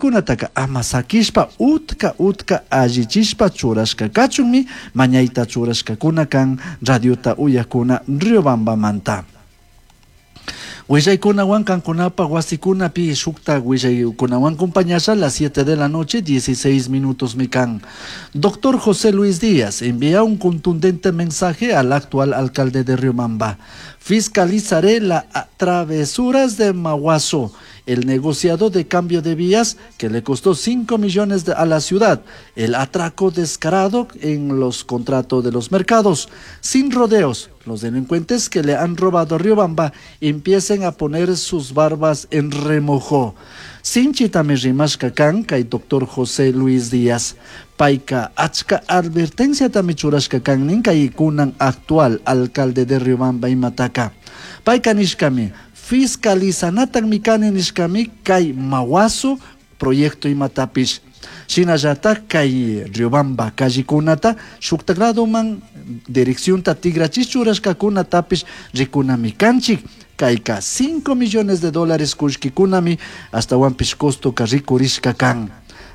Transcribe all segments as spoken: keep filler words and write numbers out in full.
Kunataka ama sakishpa utka utka allichishpa churashka kachunmi mañayta churashkakuna kan radiota uyakuna Riobambamanta. Willaykunawan kankunapaq wasikunapi shukta willaykunawan compañasha las siete de la noche, dieciséis minutos mi kan. Doctor José Luis Díaz envía un contundente mensaje al actual alcalde de Riobamba. Fiscalizaré las travesuras de Maguazo, el negociado de cambio de vías que le costó cinco millones de, a la ciudad, el atraco descarado en los contratos de los mercados. Sin rodeos, los delincuentes que le han robado a Riobamba empiecen a poner sus barbas en remojo. Sinchitami rimashka kan kay doctor José Luis Díaz. Payka achka advertenciatami churashka kan nin kay kunan actual alcalde de Riobamba imataka. Payka nishkami fiscalizanatami kani nishkami kay Maguazo proyecto imatapish. Shinallatak kay Riobamba callekunata shuktakladuman direccionta tigrachish churashkakunatapish rikunami kanchik. Kayka cinco millones de dólares kullkikunami astawanpish costoka rikurishka kan.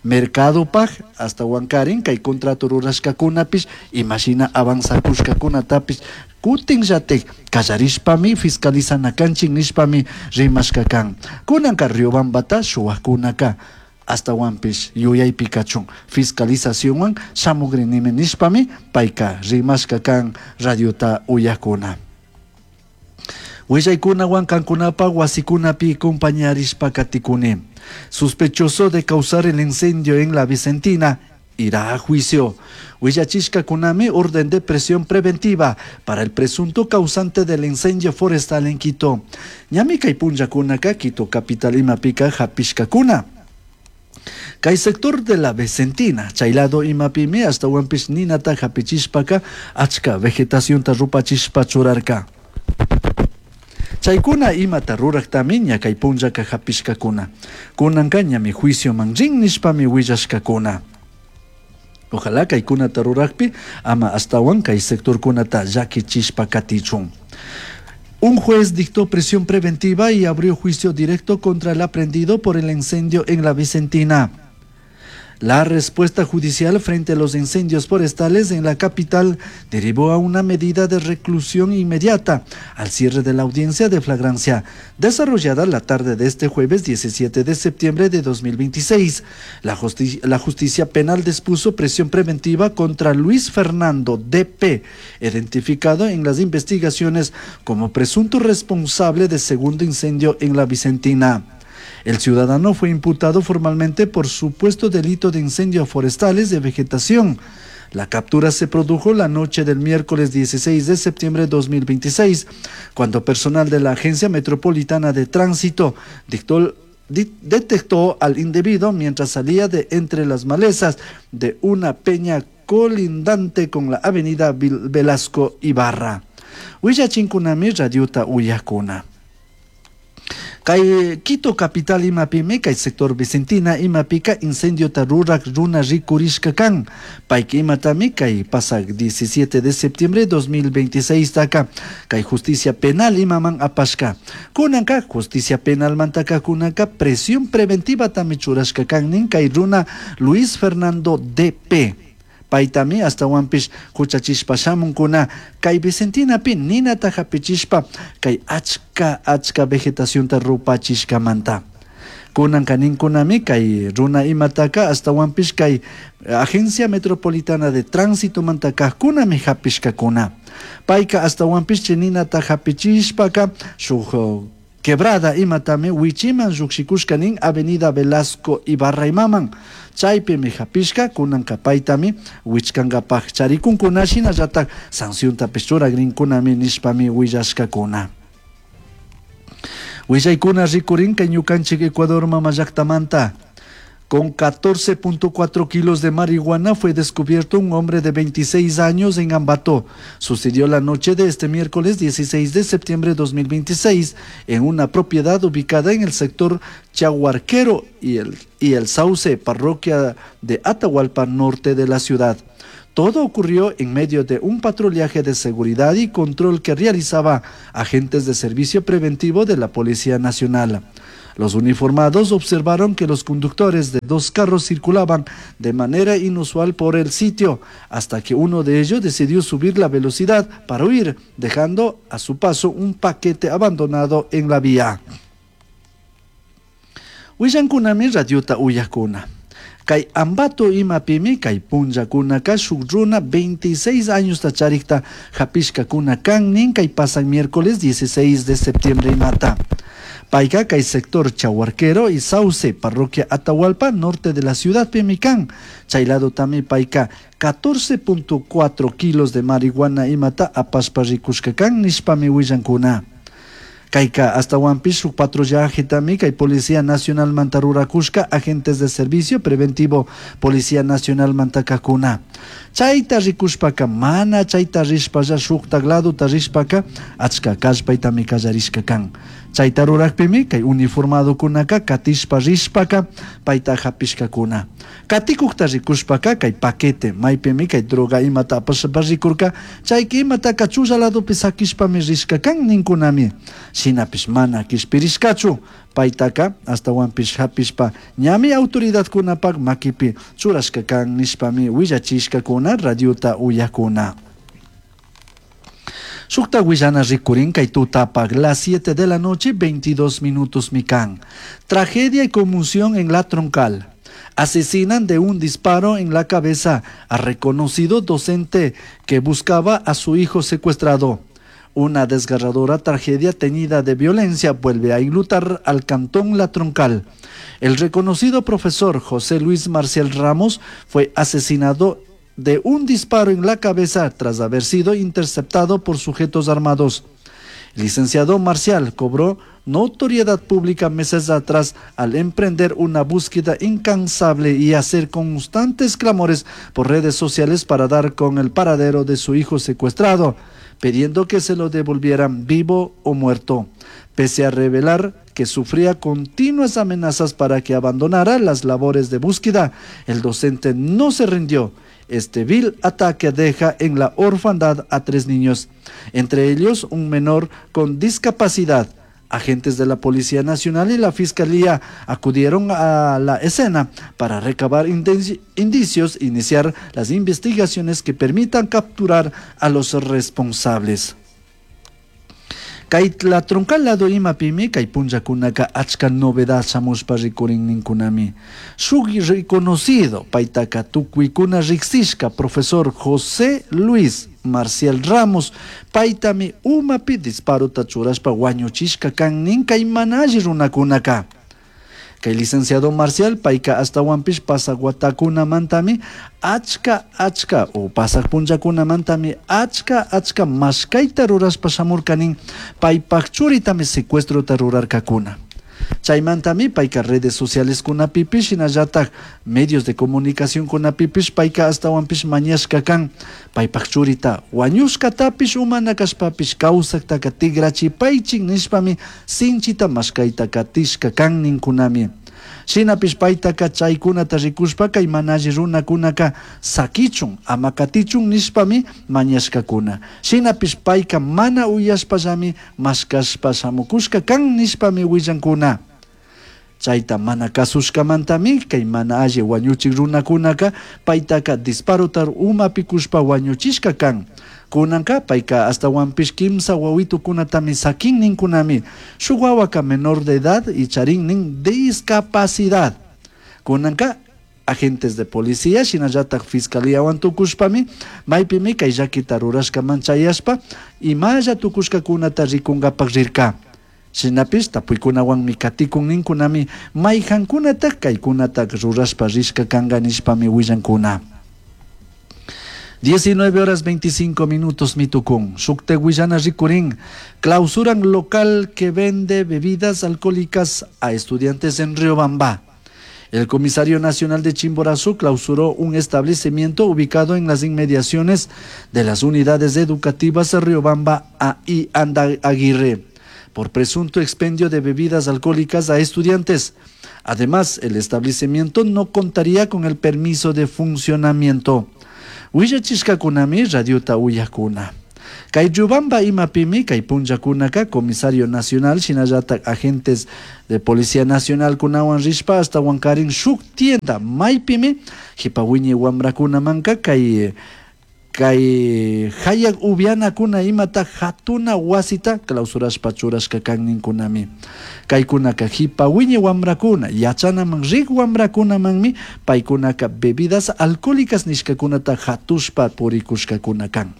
Mercadopaj hasta wankarin kay contrato rurashkakunapish imashina avanzakushkakunatapish kutinllatik kallarishpami fiscalizana kanchik nishpami rimashka kan. Kunanka Riobambata shuwakunaka astawanpish yuyaypi kachun fiscalizacionwan shamugrinimi nishpami payka rimashka kan radiota uyakuna. Willaykunawan kankunapaq wasikunapi compañarishpa katikuni. Sospechoso de causar el incendio en la Vicentina irá a juicio. Willachishkakunami orden de presión preventiva para el presunto causante del incendio forestal en Quito. Ñami kay punllakunaka Quito capital imapika hapishkakuna. Kay sector de la Vicentina, chaylado imapimi astawanpish ninata hapichishpaka achka vegetacionta rupachishpa churarka. Chaykuna imata ruraktami ña kay punllaka hapishkakuna. Kunanka ñami juicioman rin nishpami willashkakuna. Ojalá kaykunata rurakpi ama astawan kay sectorkunata llakichishpa katichun. Un juez dictó prisión preventiva y abrió juicio directo contra el aprehendido por el incendio en la Vicentina. La respuesta judicial frente a los incendios forestales en la capital derivó a una medida de reclusión inmediata al cierre de la audiencia de flagrancia desarrollada la tarde de este jueves diecisiete de septiembre de dos mil veintiséis. La justi-, la justicia penal dispuso prisión preventiva contra Luis Fernando D P, identificado en las investigaciones como presunto responsable del segundo incendio en la Vicentina. El ciudadano fue imputado formalmente por supuesto delito de incendios forestales de vegetación. La captura se produjo la noche del miércoles dieciséis de septiembre de dos mil veintiséis, cuando personal de la Agencia Metropolitana de Tránsito dictó, di-, detectó al individuo mientras salía de entre las malezas de una peña colindante con la avenida Vil-, Velasco Ibarra. Willachinkunami radiota uyakuna. Kay Quito capital imapimi kay sector Vicentina imapika incendio tarurak runa rikurishka kan. Payka imatami kay pasak diecisiete de septiembre dos mil veintiséis taka kay justicia penal imaman apashka. Kunanka justicia penal mantaka kunanka presión preventiva tami churashka kan nin kay runa Luis Fernando D P. Paytami astawanpish huchachishpa shamunkuna kay Vicentinapi ninata hapichishpa kay achka achka vegetacionta rupachishkamanta. Kunanka ninkunami kay runa imataka astawanpish kay Agencia Metropolitana de Tránsito manta kajkunami hapishkakuna. Payka astawanpish chininata hapichishpaka shuk quebrada imatami wichiman lluqshikushka nin Avenida Velasco Ibarra imaman. Chaypimi hapishka kunanka paytami wichkankapaj charikunkuna shinallatak sanciontapish churagrinkunami nishpami willashkakuna. Willaykuna rikurinka ñukanchik Ecuador mama llaktamanta. Con catorce punto cuatro kilos de marihuana fue descubierto un hombre de veintiséis años en Ambato. Sucedió la noche de este miércoles dieciséis de septiembre de dos mil veintiséis en una propiedad ubicada en el sector Chaguarquero y el, y el Sauce, parroquia de Atahualpa, norte de la ciudad. Todo ocurrió en medio de un patrullaje de seguridad y control que realizaba agentes de servicio preventivo de la Policía Nacional. Los uniformados observaron que los conductores de dos carros circulaban de manera inusual por el sitio, hasta que uno de ellos decidió subir la velocidad para huir, dejando a su paso un paquete abandonado en la vía. Willancunami radiota uyakuna. Kay Ambato imapimi kay punllakunaka shuk runa veintiséis años charikta hapishkakuna kan nin kay pasan miércoles dieciséis de septiembre imata. Payka kay sector Chahuarquero y Sauce, parroquia Atahualpa, norte de la ciudad Pimican. Chay lado tami payka catorce punto cuatro kilos de marihuana imata apashpa rikushkakan nishpami willankuna. Kayka hasta shuk patrullaje tami kay Policía Nacional mantarurakushka agentes de servicio preventivo Policía Nacional mantakakuna. Chayta rikushpaka mana chayta rishpalla shuktak laduta rishpaka achka kallpaytami kallarishka kan. Chayta rurakpimi kay uniformadokunaka katishpa rishpaka payta hapishkakuna. Katikukta rikushpaka kay paquete maypimi kay droga imata apashpa rikurka chayki imataka chulla ladupi sakishpami rishka kan ninkunami. Shinapish mana kishpirishkachu paytaka astawanpish hapishpa ñami autoridadkunapak makipi churashka kan nishpami willachishkakuna radiota uyakuna. Shukta willana rikurin kay tutapak las siete de la noche veintidós minutos mikan. Tragedia y conmoción en La Troncal. Asesinan de un disparo en la cabeza a reconocido docente que buscaba a su hijo secuestrado. Una desgarradora tragedia teñida de violencia vuelve a enlutar al cantón La Troncal. El reconocido profesor José Luis Marcial Ramos fue asesinado de un disparo en la cabeza tras haber sido interceptado por sujetos armados. El licenciado Marcial cobró notoriedad pública meses atrás al emprender una búsqueda incansable y hacer constantes clamores por redes sociales para dar con el paradero de su hijo secuestrado, pidiendo que se lo devolvieran vivo o muerto, pese a revelar que sufría continuas amenazas para que abandonara las labores de búsqueda. El docente no se rindió. Este vil ataque deja en la orfandad a tres niños, entre ellos un menor con discapacidad. Agentes de la Policía Nacional y la Fiscalía acudieron a la escena para recabar indicios e iniciar las investigaciones que permitan capturar a los responsables. Kay La Troncal lado imapimi kay punllakunaka achka novedad shamushpa rikurin ninkunami. Shuk reconocido paytaka tukuykuna riksishka profesor José Luis Marcial Ramos paytami umapi disparota churashpa wañuchishka kan nin kay mana alli runakunaka. Kay licenciado Marcial payka astawanpish pasaq watakunamantami achka achka o pasaq punllakunamantami achka achka mashkayta rurashpa shamurkanin paypak churitami secuestrota rurarkakuna. Chaymantami payka redes sociales kunapipish shinallatak medios de comunicación kunapipish payka astawanpish mañashka kan paypak churita wañushkatapish umana kashpapish kawsaktaka tigrachipaychik nishpami sinchita mashkayta katishka kan ninkunami. Shinapish paytaka chaykunata rikushpa kay mana alli runakunaka sakichun ama katichun nishpami mañashkakuna. Shinapish payka mana uyashpallami mashkashpa shamukushka kan nishpami willankuna. Chayta mana kasushkamantami kay mana alli wañuchik runakunaka paytaka disparotar umapi kushpa wañuchishka kan. Kunanka payka astawanpish kimsa wawitukunatami sakin ninkunami. Shuk wawaka menor de edad y charin nin discapacidad. Kunanka agentes de policía shinallatak fiscalíawan tukushpami maypimi kay llakita rurashkaman chayashpa imalla tukushkakunata rikunkapak rirka. Shinapish tapuykunawanmi katikun ninkunami mayjankunatak kaykunatak rurashpa rishka kanka nishpami willankuna. diecinueve horas veinticinco minutos mitukun. Shukte willana rikurin. Clausuran local que vende bebidas alcohólicas a estudiantes en Riobamba. El comisario nacional de Chimborazo clausuró un establecimiento ubicado en las inmediaciones de las unidades educativas de Riobamba y Andaguirre por presunto expendio de bebidas alcohólicas a estudiantes. Además, el establecimiento no contaría con el permiso de funcionamiento. Willachishkakunami radiota uyakuna. Kay Riobamba imapimi kay punllakunaka comisario nacional shinallatak agentes de policía nacional kunawan rishpa ashtawankarin shuk tienda maypimi jipa wiñay wamrakunamanka kay kay hayak upianakuna imata hatuna wasita clausurashpa churashka kan ninkunami. Kaykunaka jipa wiñay wamrakuna yachanaman rik wamrakunamanmi paykunaka bebidas alcohólicas nishkakunata hatushpa purikushkakuna kan.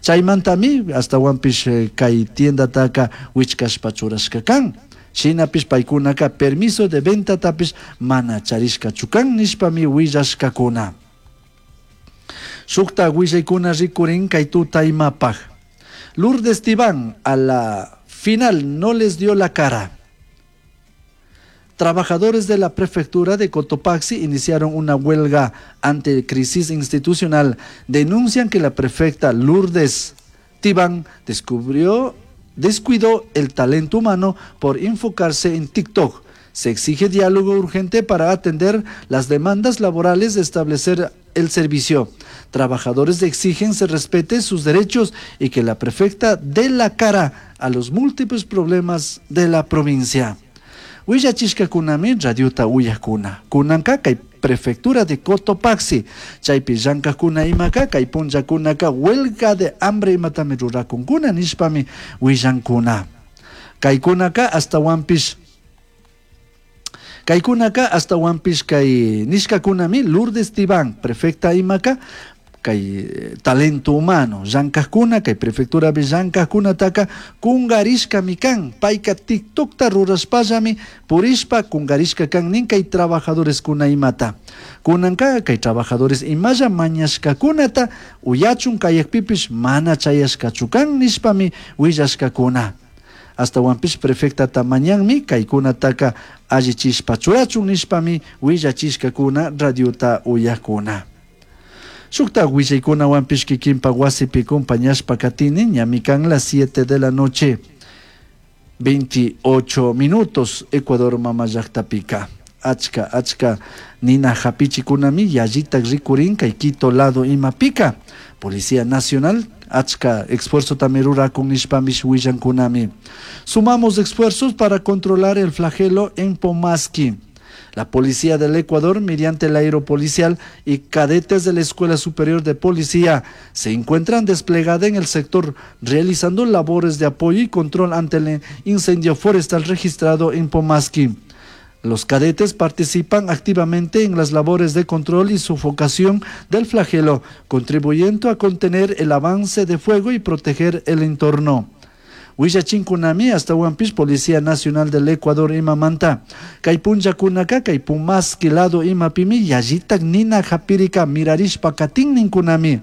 Chaymantami ashtawanpish kay tiendataka wichkashpa churashka kan. Shinapish paykunaka permiso de ventatapish mana charishkachu kan nishpami willashkakuna. Shukta willaykuna rikurin kay tuta imapaj. Lourdes Tibán a la final no les dio la cara. Trabajadores de la prefectura de Cotopaxi iniciaron una huelga ante crisis institucional. Denuncian que la prefecta Lourdes Tibán descubrió, descuidó el talento humano por enfocarse en TikTok. Se exige diálogo urgente para atender las demandas laborales de establecer el servicio. Trabajadores exigen se respete sus derechos y que la prefecta dé la cara a los múltiples problemas de la provincia. Willachishkakunami radiota uyakuna. Kunanka kay prefectura de Cotopaxi. Chaypi llankakuna imaka kay punllakunaka huelga de hambre imatami rurakunkuna nishpami willankuna. Kaykunaka ashtawanpish Kaykunaka ashtawanpish kay nishkakunami Lourdes Tibán, prefecta imaka kay talento humano llankakuna kay prefecturapi llankakkunataka kungarishkami kan payka TikTokta rurashpallami purishpa kungarishka kan nin kay trabajadoreskuna imata kunanka kay trabajadores imalla mañashkakunata uyachun kayakpipish mana chayashkachu kan nishpami willashkakuna. Ashtawanpish prefectata mañanmi kaykunataka allichishpa churachun nishpami willachishkakuna radiota uyakuna. Shukta willaykunawanpish kikinpa wasipi compañashpa katini ñami kan las siete de la noche veintiocho minutos Ecuador mama llaktapika. Achka achka nina hapichikunami yallitak rikurin kay Quito lado imapika. Policía Nacional achka esfuerzo también rurakun nishpamish willankunami. Sumamos esfuerzos para controlar el flagelo en Pomasqui. La Policía del Ecuador, mediante el aeropolicial y cadetes de la Escuela Superior de Policía, se encuentran desplegada en el sector, realizando labores de apoyo y control ante el incendio forestal registrado en Pomasqui. Los cadetes participan activamente en las labores de control y sofocación del flagelo, contribuyendo a contener el avance de fuego y proteger el entorno. Willachinkunami ashtawanpish Policía Nacional del Ecuador imamanta. Kay punllakunaka kay Pomasqui lado imapimi yallitak nina hapirika mirarishpa katin ninkunami.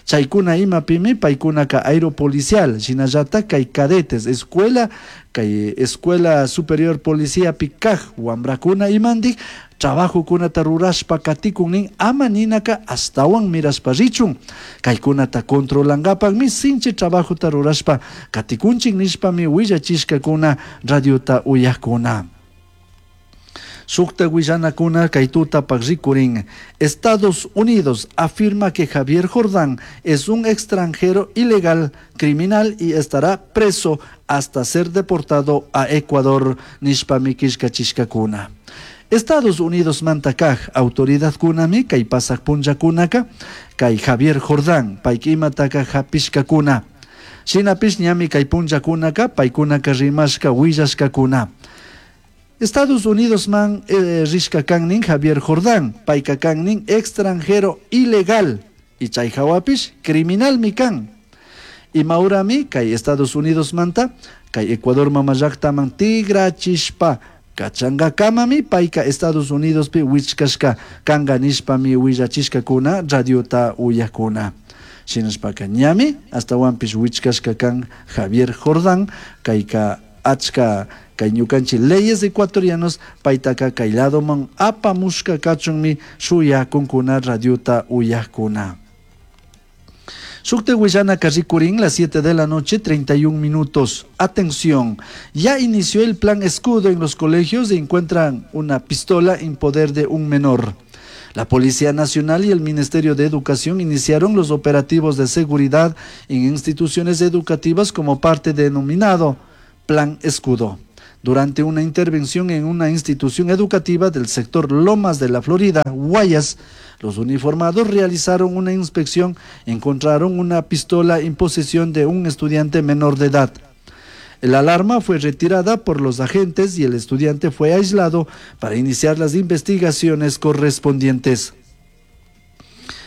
Chaykuna imapimi paykunaka aeropolicial shinallatak kay cadetes escuela kay escuela superior policía pikaj wambrakuna imandik trabajokunata rurashpa katikun nin ama ninaka ashtawan mirashpa richun kaykunata controlankapakmi sinchi trabajota rurashpa katikunchik nishpami willachishkakuna radiota uyakuna. Shukta willanakuna kay tutapak rikurin. Estados Unidos afirma que Javier Jordán es un extranjero ilegal, criminal y estará preso hasta ser deportado a Ecuador. Nishpami killkachishkakuna. Estados Unidos mantakaj autoridad kunami kay pasak punllakunaka kay Javier Jordán payka imataka hapishkakuna. Shinapish ñami kay punllakunaka paykunaka rimashka willashkakuna. Estados Unidos man eh, rishka kannin Javier Jordán, payka kannin extranjero ilegal y chay hawapish criminal mi kan. Imaurami kay Estados Unidos manta kay Ecuador mama llaktaman tigrachishpa kachankakamami payka Estados Unidos pi wichkashka kanka nishpami willachishkakuna radiota uyakuna. Shinashpaka ñami ashtawanpish wichkashka kan Javier Jordán kayka achka kay ñukanchik leyes ecuatorianos paytaka kay ladoman apamushka kachunmi shuyakunkuna radiota uyakuna. Shukta willanaka rikurin las siete de la noche, treinta y un minutos. Atención, ya inició el plan escudo en los colegios y encuentran una pistola en poder de un menor. La Policía Nacional y el Ministerio de Educación iniciaron los operativos de seguridad en instituciones educativas como parte denominado Plan Escudo. Durante una intervención en una institución educativa del sector Lomas de la Florida, Guayas, los uniformados realizaron una inspección, encontraron una pistola en posesión de un estudiante menor de edad. El alarma fue retirada por los agentes y el estudiante fue aislado para iniciar las investigaciones correspondientes.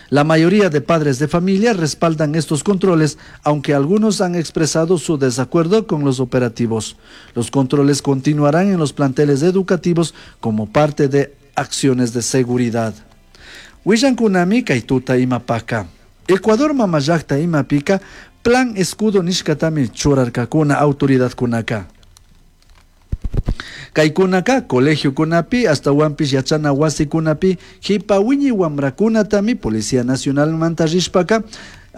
La mayoría de padres de familia respaldan estos controles, aunque algunos han expresado su desacuerdo con los operativos. Los controles continuarán en los planteles educativos como parte de acciones de seguridad. Willankunami kay tuta imapaka. Ecuador mamallakta imapika Plan Escudo nishkatami churarkakuna autoridadkunaka. Kaykunaka colegiokunapi ashtawanpish yachana wasikunapi jipa wiñay wamrakunatami Policía Nacional manta rishpaka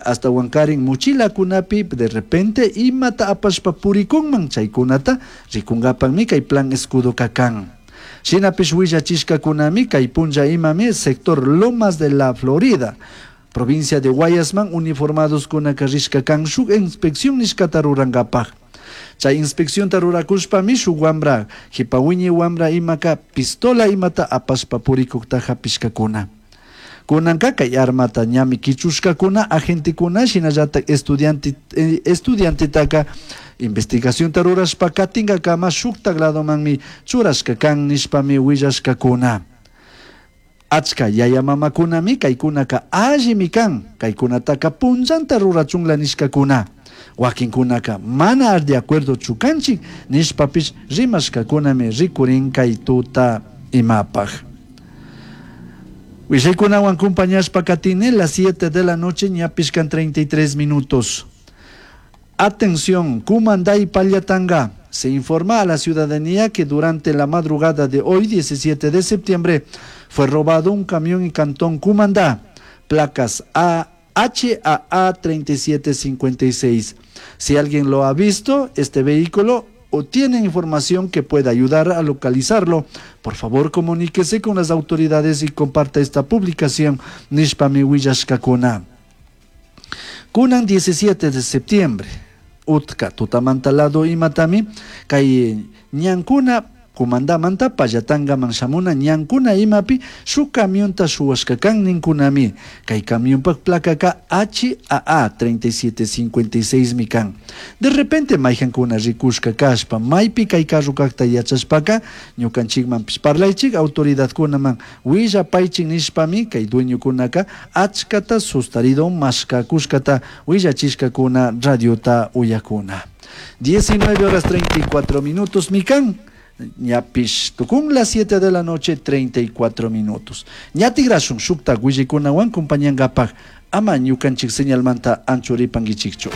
ashtawankarin mochilakunapi de repente imata apashpa purikunman chaykunata rikunkapakmi kay Plan Escudo kan. Shinapish willachishkakunami kay punlla imami sector Lomas de la Florida, provincia de Guayasman uniformados kunaka rishka kan shuk inspección nishkata rurankapak. Chay inspección rurakushpami shuk wambra, jipa wiñay wambra imaka pistola imata apashpa purikukta hapishkakuna. Kunanka kay armata ñami kichushkakuna agentekuna shinallatak estudiante, eh, estudiantetaka investigación rurashpa katinkakama shuktak ladomanmi churashka kan nishpami willashkakuna. Achka yaya mamakunami kaykunaka allimi kan, kaykunataka punllanta rurachunla nishkakuna. Wakinkunaka mana de acuerdo chukanchik nishpapish rimashkakunami rikurin kay tuta imapaj. Willaykunawan compañashpa katini las siete de la noche ñapish kan treinta y tres minutos. Atención, Cumandá y Pallatanga. Se informa a la ciudadanía que durante la madrugada de hoy, diecisiete de septiembre, fue robado un camión en Cantón Cumandá, placas A H A A treinta y siete cincuenta y seis. Si alguien lo ha visto, este vehículo, o tiene información que pueda ayudar a localizarlo, por favor comuníquese con las autoridades y comparta esta publicación. Nishpami willashkakuna. Kunan diecisiete de septiembre, utka tutamantalado imatami, kay ñankuna Cumandamanta Pallatangaman shamuna ñankuna imapi shuk camionta shuwashkakan ninkunami. Kay camionpak plakaka H A A treinta y siete cincuenta y seis mi kan. De repente mayhankuna rikushka kashpa maypi kay carrokakta yachashpaka ñukanchikmanpish parlaychik autoridadkunaman willapaychik nishpami kay dueñokunaka achkata sustarido mashkakushkata willachishkakuna radiota uyakuna. diecinueve horas treinta y cuatro minutos mikan. Ñapish tukun las siete de la noche treinta y cuatro minutos. Ñatigrashun shukta willikunawan compañangapak ama ñukanchik señalmanta anchuripankichikchu.